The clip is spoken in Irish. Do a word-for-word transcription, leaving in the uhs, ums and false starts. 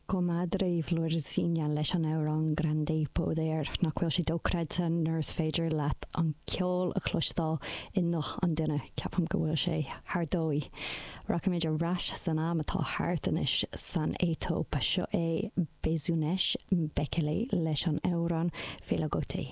Comadre Florzinha leis an amhrán Grande Poder nach bhfuil sé dochreidte nuair is féidir leat an ceol a chloisteáil i nguth an duine ceapaim go bhfuil sé thar dóigh. Rachaimid ar ais san am atá thart anois san Aetóip seo é Bezunesh Bekele leis an amhrán Fela Gote.